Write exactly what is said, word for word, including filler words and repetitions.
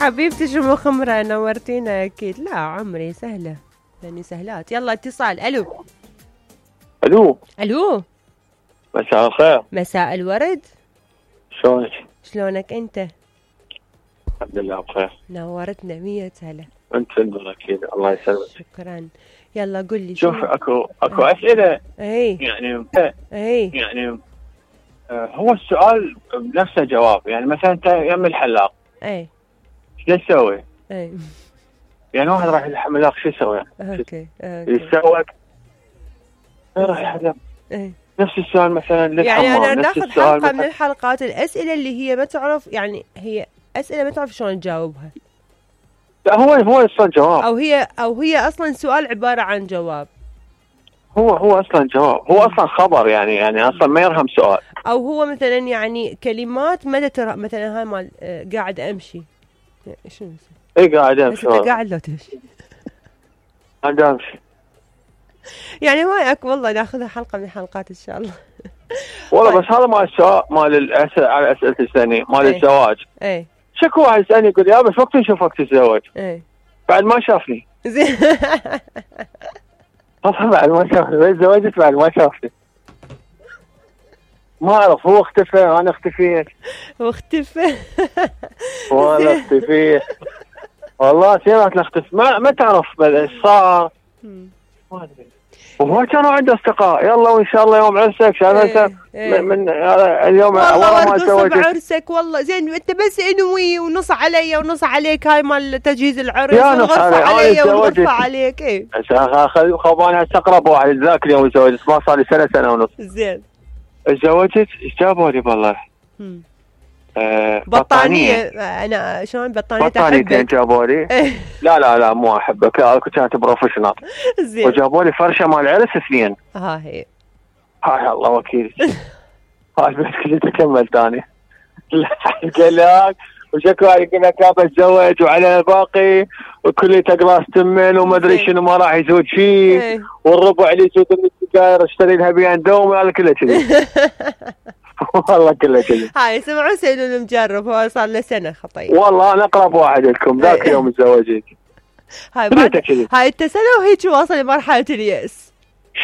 حبيبتي شو مخمرة نورتينا اكيد. لا عمري سهلة يعني سهلات. يلا اتصال. الو الو الو مساء الخير. مساء الورد. شلونك؟ شلونك انت؟ الحمد لله بخير. نورتنا مية هلا. انت النور اكيد. الله يسلمك. شكرا. يلا قل لي. شوف اكو اكو اسئله اي يعني اي يعني آه هو السؤال نفسه جواب. يعني مثلا انت يم الحلاق اي شو تسوي؟ اي يعني واحد راح الحلاق شو يسوي؟ اوكي يتسوق راح يحلق. اي نفس السؤال مثلا للحمام. يعني انا نفس ناخذ السؤال حلقة من مثلاً الحلقات الاسئلة اللي هي ما تعرف، يعني هي اسئلة ما تعرف شلون تجاوبها، لا هو هو اصلا جواب، او هي او هي اصلا سؤال عبارة عن جواب، هو هو اصلا جواب، هو اصلا خبر يعني يعني اصلا ما يرهم سؤال، او هو مثلا يعني كلمات متى ترى مثلا هاي مال آه، قاعد امشي شنو اي قاعد بس امشي انت قاعد لو تمشي قاعد امشي يعني ما اكو والله ناخذها حلقة من الحلقات ان شاء الله. والله. بس هذا مال السؤال مال الاسئله على اسئله الثانيه مال ايه. الزواج. ايه شكو واحد يسالني يقول يا بس وقت نشوفك تتزوج ايه بعد ما شافني. زين والله بعد ما شافني بس تزوجت بعد ما شافني. ما اعرف هو اختفى انا اختفيت واختفى وانا اختفيت والله سيرات نختفي ما ما تعرف ايش صار. ما ادري. وهو كانوا عنده اصدقاء يلا وان شاء الله يوم عرسك شايف انت ايه. من اليوم والله ما ورقص تزوجت بعرسك والله زين انت بس انوي ونص علي ونص عليك هاي مال تجهيز العرس يا نص ونغرفة علي. علي أنا ونغرفة تزوجت. عليك. ايه خباني هسه اقرب واحد ذاك اليوم تزوجت ما صار لي سنه سنه ونص. زين تزوجت ايش جابوا لي والله؟ آه بطانية. انا شلون بطانية بطانيتين جابوا لي. لا لا لا مو احبك كنت بروفيشنال. زين وجابوا لي فرشه مال عرس اثنين. ها هي هاي الله وكيل. هاي بس كنت اكمل ثاني. قال لك وشكو يقول لك ابى اتزوج وعلى الباقي وكل تقراص تمن وما ادري شنو ما راح يزود شيء والربع اللي يزود من السجاير اشتري لها بيان دوم هذا كله كذي. والله كله كذي. هاي سمعوا سيدون المجرب هو صار له سنه خطير. والله انا اقرب واحد لكم ذاك يوم تزوجت. هاي بعد هاي انت سنه وهيك واصل لمرحله اليأس.